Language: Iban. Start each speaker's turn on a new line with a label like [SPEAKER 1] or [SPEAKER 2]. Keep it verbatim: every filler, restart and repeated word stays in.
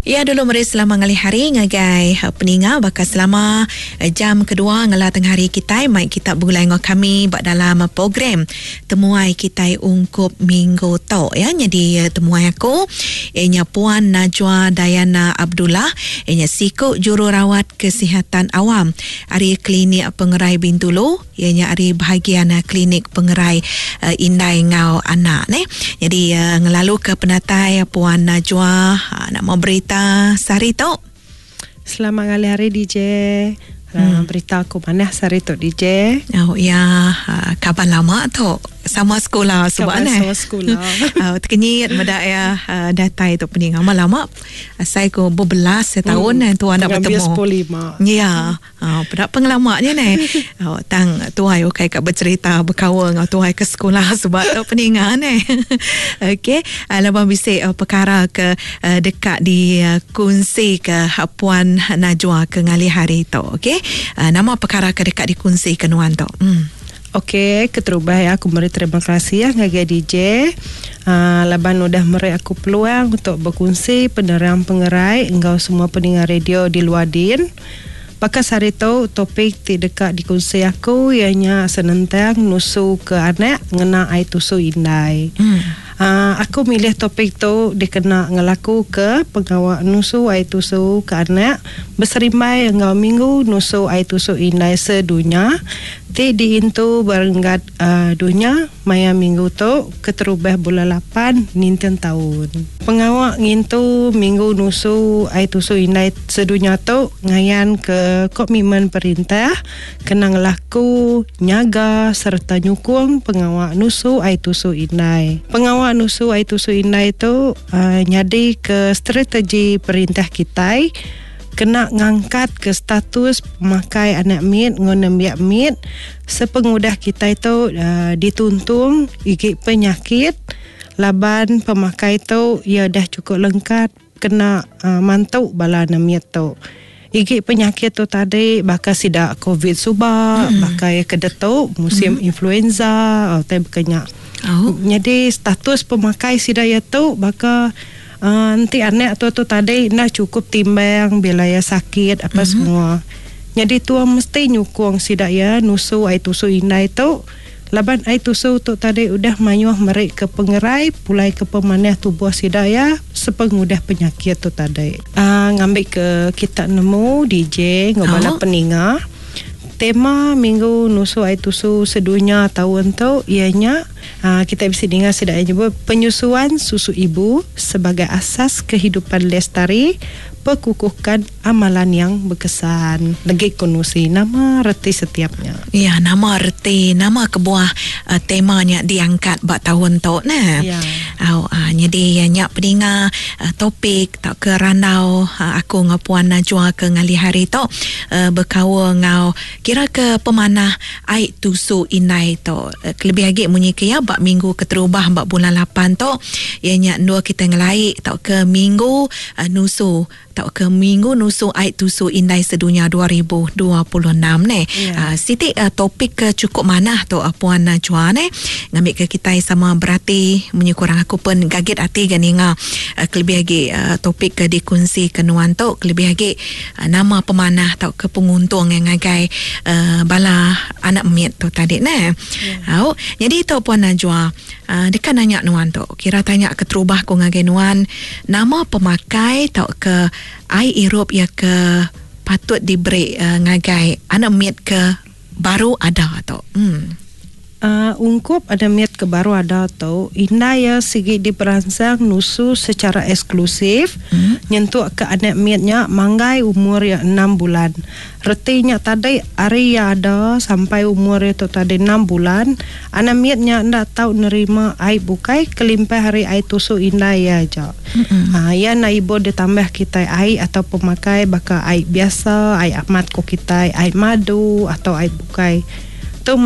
[SPEAKER 1] Ya dulu meri selama ngalih hari ngagai peninga baka selama jam kedua ngela tengah hari kitai mai kita begulai ngau kami ba dalam program temuai kitai ungkup minggu tu ya. Jadi temuai aku ianya Puan Najwa Dayana Abdullah, ianya siku jururawat kesihatan awam ari Klinik Pengerai Bintulu, ianya ari bahagian Klinik Pengerai uh, Indai ngau Anak ne. Jadi uh, ngelalu ke penatai Puan Najwa uh, nak mau berita sehari tu.
[SPEAKER 2] Selamat ngalih hari D J. Hmm. Berita aku mana sehari tu D J?
[SPEAKER 1] Oh ya, kaban lama tu. Sama sekolah sebab
[SPEAKER 2] ne. Sama sekolah.
[SPEAKER 1] Uh, terkenyit medak ya uh, datai tu pening lama-lama. Saya ko berbelas tahun hmm. tuan nak bertemu.
[SPEAKER 2] sepuluh lima.
[SPEAKER 1] Ya. Uh, pada pengelamanya ne. Uh, tang tuai okay kat bercerita berkawan ngau tuai ke sekolah sebab tu peningan ne. Okey, uh, lepas bisik uh, perkara ke uh, dekat di uh, kongsi ke uh, Puan Najwa ke ngalih hari tu. Okey. Uh, nama perkara ke dekat dikongsi ke nuan tu. Hmm.
[SPEAKER 2] Okey, keterubah ya aku meri terima kasih ya ngagai D J. Uh, laban udah meri aku peluang untuk berkongsi penerang pengerai engkau semua pendengar radio di luar din. Pakas hari tu topik ti dekat dikongsi aku ianya senentang nusu ke anak ngena ai tusu indai.
[SPEAKER 1] Hmm.
[SPEAKER 2] Uh, aku milih topik tu dikena ngelaku ke pengawak nusu ai tusu ke anak berserimbai engkau minggu nusu ai tusu indai sedunia. Ti diintu berenggat uh, dunia maya minggu tu keterubah bulan lapan ninten tahun. Pengawak ngintu minggu nusu ai tusu indai sedunia tu ngayan ke komitmen perintah kena ngelaku nyaga serta nyukung pengawak nusu ai tusu indai. Pengawak nusu ai tusu indai tu uh, nyadi ke strategi perintah kitai kena ngangkat ke status pemakai anak mit ngon nembiak mit sepengudah kita itu uh, dituntung gigi penyakit laban pemakai tu ia dah cukup lengkap kena uh, mantuk bala nembiak tu. Gigi penyakit tu tadi bakal sidak COVID subak, hmm. bakal kedetuk musim hmm. influenza atau berkenyak.
[SPEAKER 1] Oh.
[SPEAKER 2] Jadi status pemakai sidak ia tu bakal Uh, nanti anak tu tu tadi nak cukup timbang bila ya sakit apa
[SPEAKER 1] mm-hmm.
[SPEAKER 2] semua. Jadi tua mesti nyukung sidak ya nusu ai tusu indai tu. Laban ai tusu tu tadi udah mayuh merik ke pengerai pulai ke pemanah tubuh sidak ya sepengudah penyakit tu tadi. Uh, ngambil ke kita nemu D J ngobala
[SPEAKER 1] oh.
[SPEAKER 2] peninga. Tema minggu nusu ai tusu sedunia tahun tu ianya uh, kita bisa dengar sedak nyebut penyusuan susu ibu sebagai asas kehidupan lestari, perkukuhkan amalan yang berkesan. Lagi konusi nama reti setiapnya.
[SPEAKER 1] Ya, nama reti, nama kebuah uh, temanya diangkat bak tahun tu nah.
[SPEAKER 2] Ya.
[SPEAKER 1] Au uh, jadi nyak peninga uh, topik tak ke randau uh, aku ngau Puan Najwa ke ngalih hari tu uh, berkawa ngau kira ke pemanah ai tusu indai tu. Uh, kelebih lagi munyi ke ya bak minggu keterubah bak bulan lapan tu ianya dua kita ngelaik tak ke minggu uh, nusu tak ke minggu nusu ai tusu indai sedunia dua ribu dua puluh enam ne.
[SPEAKER 2] Yeah.
[SPEAKER 1] Uh, siti uh, topik ke cukup manah tu uh, Puan Najwa ne ngambil ke kita sama berarti munyi kurang aku pun gagit hati gan ninga uh, kelebih lagi uh, topik ke dikongsi ke nuan tu kelebih lagi uh, nama pemanah atau ke penguntung yang ngagai uh, bala anak mit tu tadi ne.
[SPEAKER 2] Yeah.
[SPEAKER 1] Au, jadi tu Puan Najwa uh, dekat nanya nuan tu kira tanya keterubah ku ngagai nuan nama pemakai atau ke ai irup ya ke patut diberi uh, ngagai anak mit ke baru ada tu. Hmm.
[SPEAKER 2] Uh, ungkup ada miat ke baru ada tu indai ya sigi diperangsang nusu secara eksklusif
[SPEAKER 1] hmm.
[SPEAKER 2] nyentuk ke anak miatnya manggai umur ya enam bulan. Retinya tadi hari ya ada sampai umur itu tadi enam bulan anak miatnya ndak tahu nerima ai bukai kelimpah hari ai tusu indai ya aja.
[SPEAKER 1] Hmm.
[SPEAKER 2] Uh, ya na ibu ditambah kita ai atau pemakai bakal ai biasa, ai amat ko kita, ai madu atau ai bukai. Tu